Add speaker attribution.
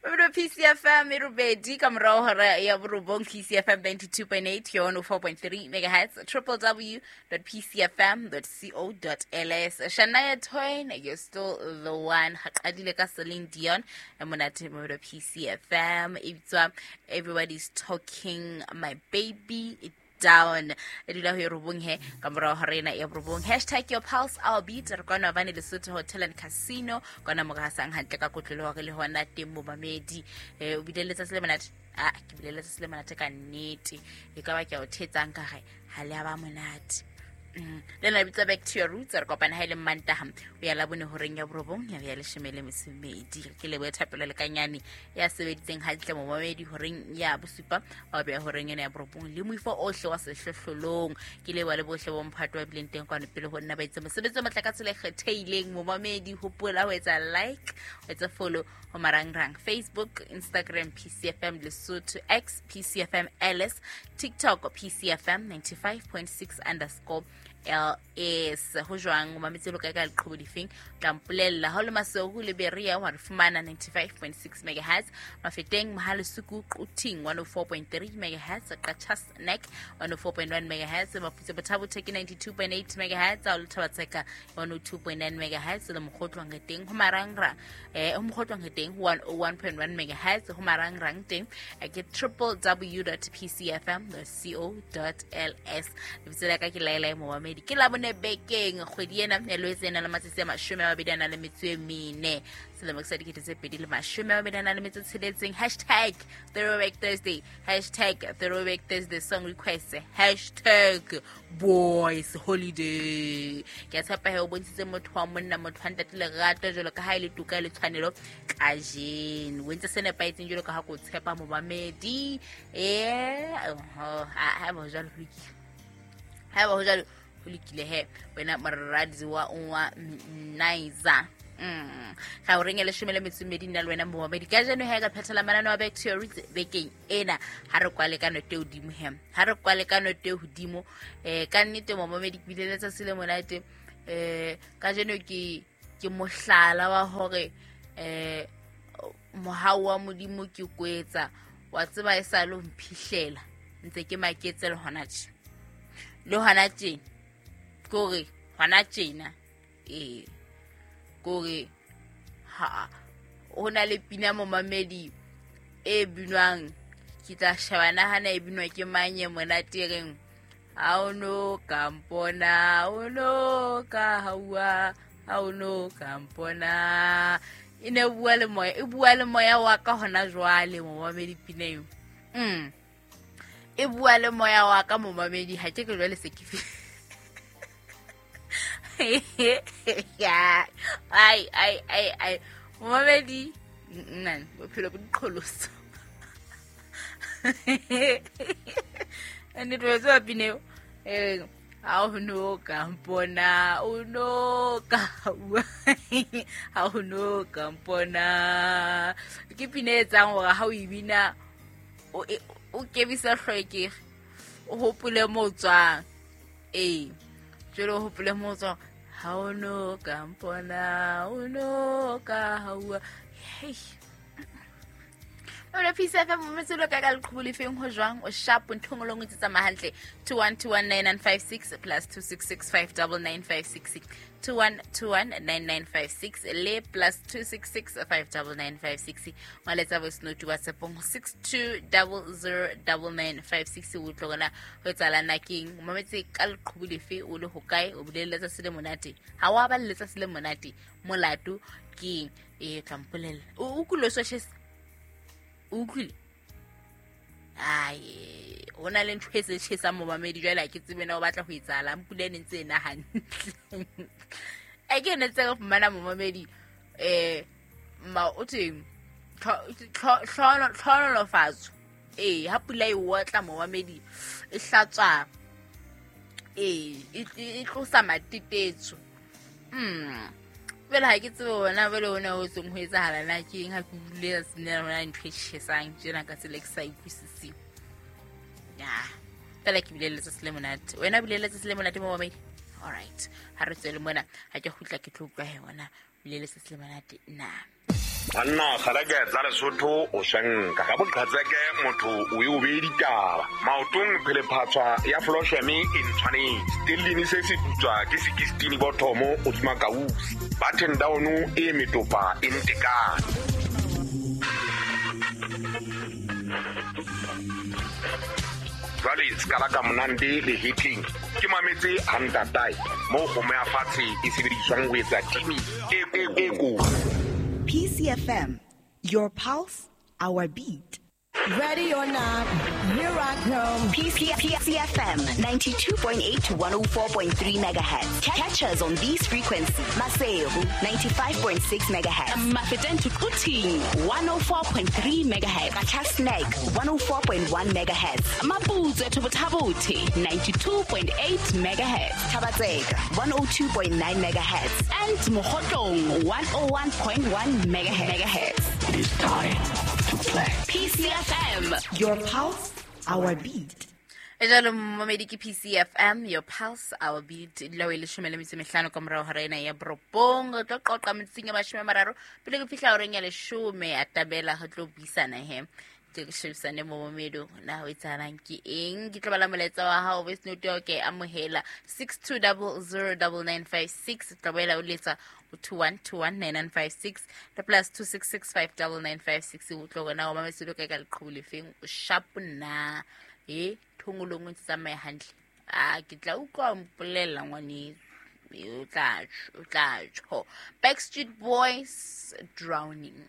Speaker 1: Mabelo PCFM e robedi ka morago hora ya borobong. PCFM 92.8 ke 104.3 megahertz, www.pcfm.co.ls. Shania Twain, "You're Still the One". Ga qadile ka Celine Dion e monate. Mabelo PCFM e bitswa "Everybody's Talking My Baby Down". E dula ho e robong he ka morago ga rena ya borobong. Hashtag your pulse, our beat. Re kwana bane Lesotho Hotel and Casino kwana mo gasang hantle ka kotlolo hore le hona teng momamedi. O bile letsatsi le monate. A ke bile letsatsi le monate ka nnete. E ka ba ke a o thetsang ka ge ha le a ba monate. Le na bitsa "Back to Your Roots". Re kopana ha e le Mantaha o ya Labone horeng ya borobong ya ya 12. Ke leboe Thapelo Lekanyane ya sebeditseng hantle momamedi horeng ya bosupa wa beya horeng ena ya borobong le moifo ohle wa sehlohlolong. Ke leboa le bohle bo mphato ba bileng teng kwano pele ho nna, ba itse mosebetsi o matla ka tsela e kgetheileng. Momamedi, hopola ho etsa like, ho etsa follow ho marangrang: Facebook, Instagram PCFM Lesotho, X PCFM ls, TikTok PCFM 95.6_ls. Ho jwang o mametse lo kae ka leqhubu difeng? Tla mpolella. Ha o le Maseru le Berea wa re fumana 95.6 megahertz, Mafeteng, Mohalesuku, Quthing 104.3 megahertz, Qacha's Nek 104.1 megahertz, Maputse Bothabothe ke 92.8 megahertz, ha o le Thabatseka 102.9 megahertz, le Mokgotlwang teng ho marangrang ho Mokgotlwang teng 101.1 megahertz. Ho marangrang teng ke www.pcfm.co.ls. Lebitso la ka ke Laela Momamedi. Ke Labone bekeng kgwedi ena ya Loetse ena le matsatsi a 24 selemo sa 2026. Hashtag Throwback Thursday, hashtag Throwback Thursday song request, hashtag boys holiday. Ke a tshepa he o bontshitse motho wa monna, motho wa ntate lerato jalo ka ha e le toka le tshwanelo kajeno. O entse se nepahetseng jalo ka ha ko tshepa momamedi. Ha ba jalo ho lokile, ha ba ho jalo ho lokile. He wena moradi wa Nizer, ga o reng e 12 nna le wena momamedi ka jeno he ka phethela manane wa Back to Your Roots bekeng ena. Ha re kwale ka note hodimo he, ha re kwale ka note hodimo. Ka nnete momamedi, ke bile letsatsi le monate ka jeno. Ke mohlala wa hore mohau wa Modimo ke kwetsa wa tseba e sa le ho mphihlela ntse ke maketse le hona tje, le hona tjena ke hore hona tjena ee ke hore ha ho na le pina momamedi e binwang. Ke tla sheba nahana e binwa ke mang e monate e reng ha o no ka mpona, o no ka haua, ha o no ka mpona. E ne bua le moya, e bua le moya wa ka hona jwale momamedi pina eo. E bua le moya wa ka momamedi. Ha ke ke jwale se ke ai ai ai ai momamedi nna bophelo bo diqholoso nnete. Wa tseba pina eo ha o no ka mpona, o no ka bua, ha o no ka mpona. Ke pina e etsang hore ha o e bina o kebisa hlwekege, o hopole mo o tswang. Ee, jwale o hopole mo o tswang. Ha o no ka mpona, o no ka haua. Hei Ore Peace FM mometselo ka ka leqhubu lefeng? Ho jwang? O sharp nthong o lengwe tse tsamaya hantle. 21219956, +266 59956, 21219956 le +266 59956. Ngwaletsa voice note WhatsAppong 62009956. O utlwe gona ho etsahala nakeng o mametse ka leqhubu lefe, o le hokae, o bile letsatsi le monate, ha wa ba le letsatsi le monate, molato keng? E tla mpolella. O utlwile o so o utlwile ai ho na le ntho e se tjhesang momamedi. Jwale ha ke tsebe na o batla ho etsahalang. Pula e ne ntse e na hantle e ke ne tse re fumana momamedi ma o theng tlhonolofatso. Ee, ha pula e otla momamedi, e hlatswa, ee, e tlosa matetetso. Jwale ha ke tsebe ona jwale ona ho tseng ho etsahala na ke eng. Ha ke utlwile tsatsing lena hona ntho e tjhesang tjena ka tsela e ke sa utlwisiseng ya fela. Ke bile letsatsi le monate. Wena o bile letsatsi le monate momamedi? Alright, ha re tswele mona. Ha ke kgutla ke tlo utlwa he ona o bile letsatsi le monate na.
Speaker 2: Banna kgaleke tsa Lesotho o swenka ka boqhetseke motho o e o bee ditaba maotong phelephatshwa ya flosheme e ntshwanetse stellini se se putswa ke sekistini bothomo o tsuma kausi button down e metopa e ntekane. Jwale se ka monande le hitling ke mametse hantatae moo kgomo ya fatshe e sebediswang ho etsa timi e kotsi.
Speaker 3: PCFM, your pulse, our beat.
Speaker 4: Ready or not, here I come.
Speaker 3: PCFM 92.8 to 104.3 megahertz. Catch us on these frequencies. Maseru 95.6 megahertz.
Speaker 5: Mafeteng to Quthing 104.3 megahertz.
Speaker 3: Qacha's Nek 104.1 megahertz.
Speaker 5: Maputsoe to Botha-Bothe 92.8 megahertz.
Speaker 3: Thaba-Tseka 102.9 megahertz.
Speaker 5: And Mokhotlong 101.1 megahertz.
Speaker 6: It is time to play.
Speaker 5: PCFM,
Speaker 3: your pulse, our beat.
Speaker 1: Jalo momedi ke PCFM, your pulse, our beat. Dula o e leshome le metso e mehlano ka morao hora ena ya borobong. Re tlo qoqa metsotsong ya 30 pele ke fihla horeng ya 10 a tabela re tlo buisana he. Ke shebisane mo momedo na ho etsahalang ke eng. Ke tlo bala molaetsa wa hao voice note ya ke amohela 62009956. Tlo boela o letsa 21219956 le plus 26659956. O tlo bona o mametse lo ka leqhubu lefeng o sharp na e thongolong o ntse tsamaya hantle. A ke tla utlwa mpolela ngwaneso o tla tjho. Backstreet Boys, Drowning.